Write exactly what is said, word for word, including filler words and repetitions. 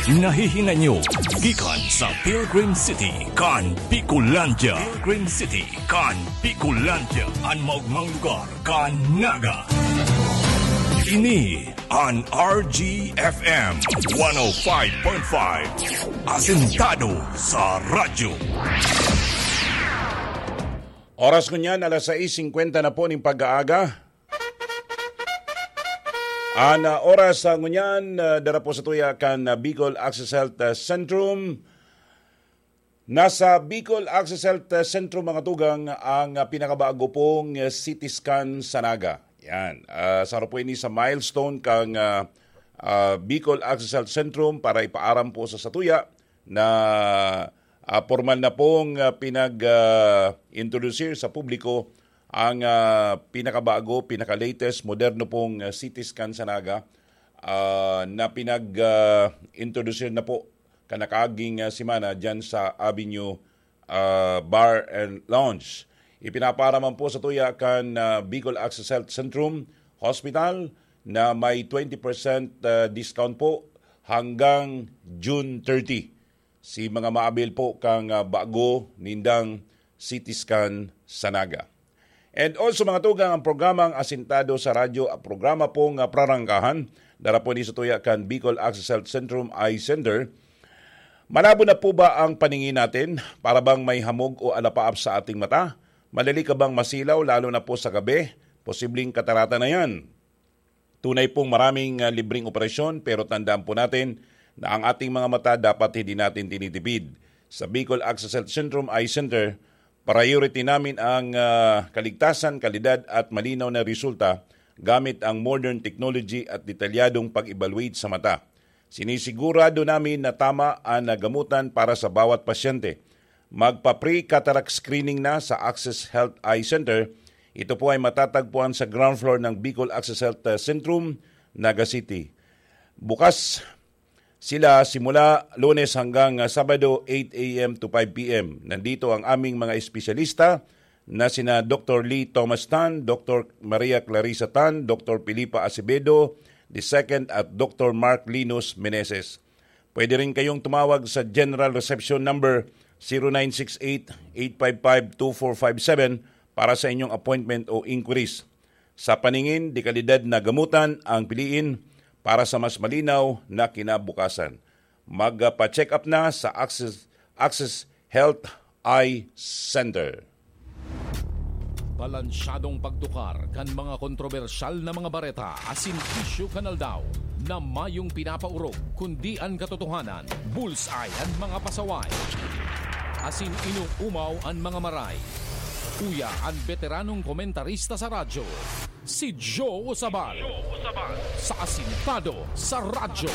Nahihinay nyo gikan sa Pilgrim City kan Bicolandia. Pilgrim City kan Bicolandia, an maogmang lugar kan Naga. Ini an R G F M one oh five point five, asentado sa radyo. Oras ngunyan, alas sais singkwenta na po ning pag-aaga. An, ah, oras, ah, ngunyan, ah, dara po sa tuya kan, ah, Bicol Access Health, ah, Centrum. Nasa Bicol Access Health, ah, Centrum, mga tugang, ang, ah, pinakabago pong, ah, C T scan sa Naga. Yan. Ah, saro po ini sa milestone kang, ah, ah, Bicol Access Health Centrum para ipaaram po sa satuya na, ah, pormal na pong, ah, pinag, ah, introdusir sa publiko ang, ah, pinakabago, pinaka-latest, moderno pong, ah, C T scan sa Naga, ah, na pinag, ah, introdusir na po kanakaging, ah, semana diyan sa Avenue, ah, Bar and Lounge. Ipinapaaraman po sa tuya kan, ah, Bicol Access Health Centrum Hospital na may twenty percent, ah, discount po hanggang June thirty. Si mga maabil po kang, ah, bago nindang C T scan sa Naga. And also, mga tugang, ang programang Asintado sa Radyo, ang programa pong, ah, prarangkahan, dara po ni sa tuya kan Bicol Access Health Centrum Eye Center. Malabo na po ba ang paningin natin? Para bang may hamog o alapaap sa ating mata? Madali ka bang masilaw, lalo na po sa gabi? Posibleng katarata na yan. Tunay pong maraming, ah, libreng operasyon, pero tandaan po natin na ang ating mga mata dapat hindi natin tinitipid. Sa Bicol Access Health Centrum Eye Center, priority namin ang, ah, kaligtasan, kalidad at malinaw na resulta gamit ang modern technology at detalyadong pag-evaluate sa mata. Sinisigurado namin na tama ang nagamutan para sa bawat pasyente. Magpa-pre-cataract screening na sa Access Health Eye Center. Ito po ay matatagpuan sa ground floor ng Bicol Access Health, uh, Centrum, Naga City. Bukas sila simula Lunes hanggang, uh, Sabado, eight a m to five p m. Nandito ang aming mga espesyalista na sina Doktor Lee Thomas Tan, Doktor Maria Clarissa Tan, Doktor Filipa Acevedo the second at Doktor Mark Linus Meneses. Pwede rin kayong tumawag sa General Reception number zero nine six eight, eight five five, two four five seven para sa inyong appointment o inquiries. Sa paningin, dekalidad na gamutan ang piliin para sa mas malinaw na kinabukasan. Magpa-check up na sa Access, Access Health Eye Center. Balansyadong pagtukar kan mga kontrobersyal na mga bareta asin isyu kan aldaw na mayong pinapaorog, kundi an katotohanan, bullseye an mga pasaway, asin inoomaw an mga maray. Uya an beteranong komentarista sa radyo, si Joe Sabal, sa Asintado sa Radyo.